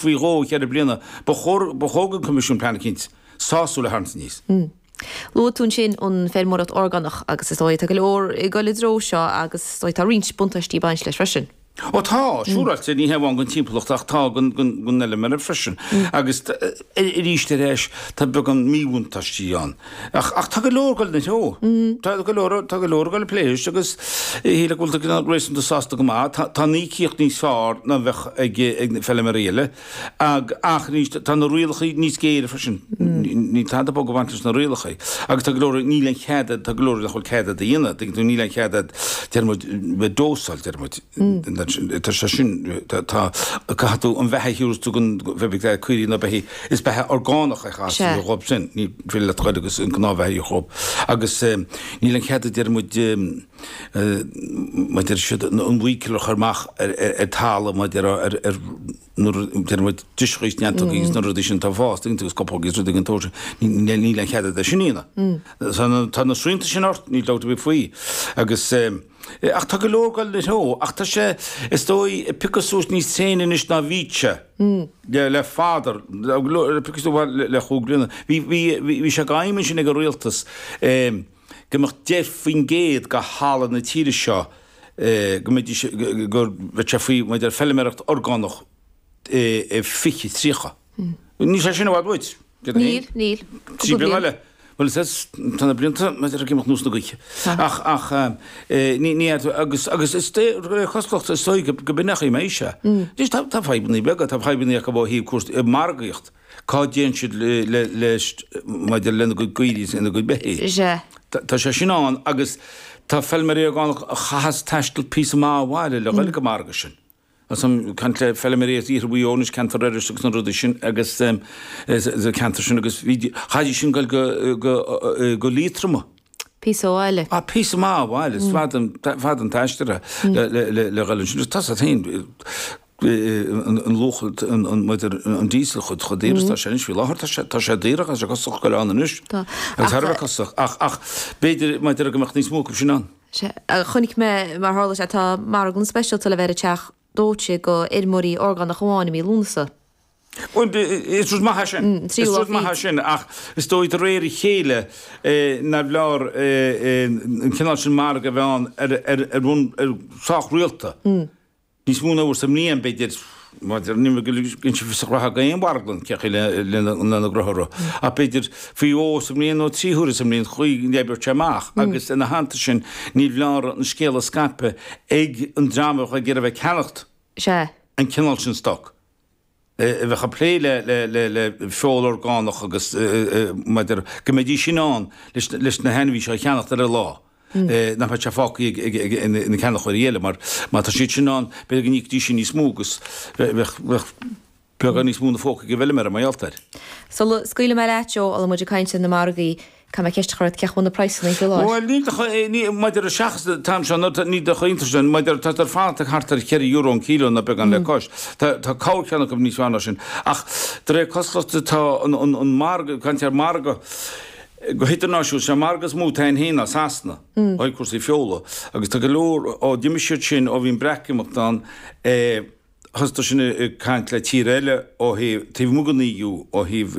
Faoi dhó i 4 bliana, ba chóir, ba chóir don Choimisiún plean eicínt sásúil a tharraingt aníos. Luaigh tú ansin an feirmeoireacht orgánach agus is dóigh tá go leor ag dul i dtreo seo agus is dóigh tá roinnt buntáistí ag baint leis freisin. Ó tá, siúráilte, ní hé amháin don timpeallacht ach tá don fheilméara freisin. Agus arís ar ais tá beagán míbhuntáistí ann. Ach ach tá go leor ag dul ina threo. Tá go leor tá go leor ag dul ag plé leis agus shílfeá go bhfuil tú réasúnta sásta go maith. Tá tá an íocaíocht níos fearr ná bheadh ag ag na feilméaraí eile. Ag ach arís tá na rialacha níos géire freisin. Níl tada bog ag baint leis na rialacha. Agus tá go leor níl aon chead tá go leor nach bhfuil cead agat a dhéanamh. Tuigeann tú níl aon chead agat deir muid bheith dósáil deir muid. Tá sé sin tá tá caithfidh tú an bheatha a thiúras tú don bheith caoirigh nó beithígh Is beatha orgánach é chas Sea. dhóibh sin, ní féidir leat goil agus an gnáthbheatha a dhóibh. Agus níl aon chead a deir muid, mar deir siad, an bhuíceal a chur amach ar talamh mar deir ar nuair a deir muid driseacha is neantógaí agus na rudaí sin atá ag fás, tuigeann tú, agus scamhógaí is rudaí den tsórt sin, níl aon chead agat é sin a dhéanamh. Tá na srianta sin ort, níl dabht ar bith faoi. Agus. Ach tá go leor ag dul ina threo, ach tá sé, is dóigh, ag piocadh suas níos tréine anois ná bhí sé le fada, ag piocadh suas le chúig bliana. Bhí, bhí, bhí sé d'aidhm ansin ag an rialtas go mbeadh 10% de thalamh na tíre seo, go mbeidís, go mbeadh sé faoi, maidir le feilméaracht orgánach i 2030. Níl sé sin i bhfad uait. Níl, níl. 3 bliana eile. Bhuel, is tá na blianta maidir ag imeacht ar nós na gaoithe. Ach, ach, ní, ní, agus, agus is de réir cosúlachta is dóigh go, go b'in é an chaoi a mbeidh sé. Anois tá, tá fadhbannaí beaga, tá fadhbannaí acu ó thaobh cúrsaí, margaíocht. Cá dtéann siad le, le, leis, maidir lena gcuid caoirigh is lena gcuid beithígh. Sea. Tá, tá sé sin ann agus tá feilméaraí orgánach a chaitheas taisteal píosa maith ó bhaile le dhul ag an margadh sin. Is ag caint le feilméaraí as iarthar Mhaigh Eo anois, ceantar Iorrais agus na rudaí sin agus sa ceantar sin agus bhí, chaithfidís sin dul go, go, go Liatroma. Píosa ó bhaile. Ah, píosa maith ó bhaile, is fada an, fada an t-aistear é le, le, le, le dhul ansin. Tá a fhios agat féin, an luach, an, an, maidir, an diesel chomh, chomh daor is atá sé anois faoi láthair, tá sé, tá sé daor agus tá sé costasach go leor anois. Tá. Agus thar a bheith costasach. Ach, ach b'fhéidir, maidir go mbeadh níos mó acu sin ann. Sea, chonaic mé, mar tharla sé, tá marglann speisialta le bheith ar an teach dóite do fheirmeoirí orgánach amháin i mí Lúnasa. Bhuel, is rud maith é sin. Is rud maith é sin, ach is dóigh de réir a chéile nárbh fhearr an cineál sin margadh a bheith ann ar bhonn sách rialta. Níos mó ná uair sa mbliain, b'fhéidir, maidir, ní bhíonn sé fiosach reatha ag aon mharglann cén chaoi lena gcruthú, ach b'fhéidir faoi dhó sa mbliain nó 3 huaire sa mbliain, chaoi go n-oibreodh sé amach agus ina theannta sin ní bhleár an scéal a scaipeadh ag an dream a bheadh ag iarraidh bheith ag ceannacht an cineál sin stoc. a bheadh ag plé le feoil orgánach agus maidir go mbeidís in ann leis na hainmhí seo a cheannacht ar an lá, nach mbeadh sé fágtha ag na ceannaitheoirí eile mar má tá siad sin ann b'fhéidir go n-íocfaidís sin níos mó agus bheadh beagán níos mó ina phóca ag an bhfeilméara mar gheall air. Sula scaoilfidh mé leat, Joe, a bhfuil muid ag caint ar na margaí, Caithfidh mé ceist a chur ort, cén chaoi a bhfuil na praghsanna faoi láthair? Bhuel, níl de ní, maidir le seachas an t-am seo, nó níl de iontas sin, maidir, tá siad fanacht ag thart ar cheithre euro an kilo nó beagán le cois. Tá, tá corrcheann acu níos fearr ná sin. Ach de réir cosúlachta tá an, an, an margadh, caint ar margadh go hidirnáisiúnta, sé an margadh is mó atá ann féin ná Sasana, ó thaobh cúrsaí feola. Agus tá go leor, ó d'imigh siad sin, ó bhí an Breatimeacht ann, eh, Thosaigh sin ag caint le tír eile ó thaobh, taobh amuigh den EU, ó thaobh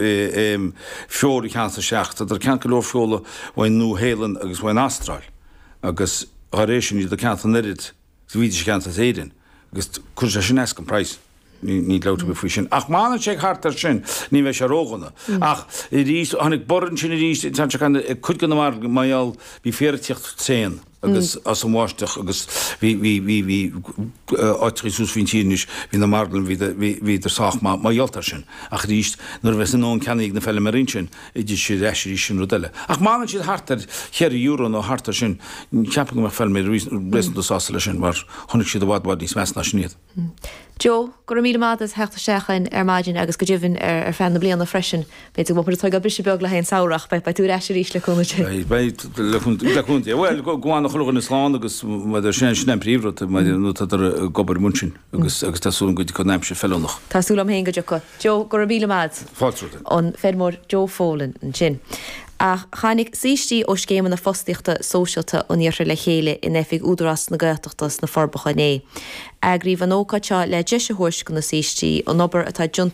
feoil a cheannacht isteach. Tá ag ceannacht go leor feola ón Nua-Shéalainn agus ón Astráil agus dá réir sin iad ag ceannacht an oiread is a bhídís ag ceannacht as Éirinn agus cuireann sé sin as don praghas. Níl dabht ar bith faoi sin. Ach má fhanann sé thart ar sin ní bheidh sé ródhona. Ach arís, tháinig borradh ansin arís, tá sé ag cuid de na margaí mar gheall, bhí féar ag tíocht tréan. agus as an bháisteach agus bhí, bhí, bhí, bhí áiteachaí suas faoin tír anois, bhí na marglanna, bhí, bhí, bhíodar sách maith mar gheall air sin. Ach arís, nuair a bheas a ndóthain ceannaithe ag na feilméaraí ansin, titfidh siad ar ais arís sin rud eile. Ach má fhanann siad thart ar cheithre euro nó thart ar sin, ceapaim go mbeadh feilméaraí réasúnta sásta leis sin mar chonaic siad i bhfad, bhfad níos measa ná sin iad. Joe, go raibh míle maith agat as theacht isteach chugainn ar maidin agus go deimhin ar feadh na bliana freisin. B'fhéidir go mbeidh muid ag tógáil briseadh beag le haghaidh an samhradh ach beidh tú ar ais arís le cúnamh Dé. Beidh, beidh, le cúnamh Dé. Bhuel, go bhfana chuile dhuine slán agus sin, sin an príomhrud, nó tádar ag obair amuigh ansin agus agus tá súil agam go dtiocfaidh an aimsir feiliúnach. Tá súil agam féin go dtiocfaidh. Joe, go raibh míle maith agat. Fáilte romhat. An feirmeoir Joe Folan ansin. Ach tháinig saoistí ó scéimeanna fostaíochta sóisialta an iarthair le chéile in oifig Údarás na Gaeltachta sna Forbacha inné. Eagraíodh an ócáid seo le deis a thabhairt do na saoistí an obair atá déanta.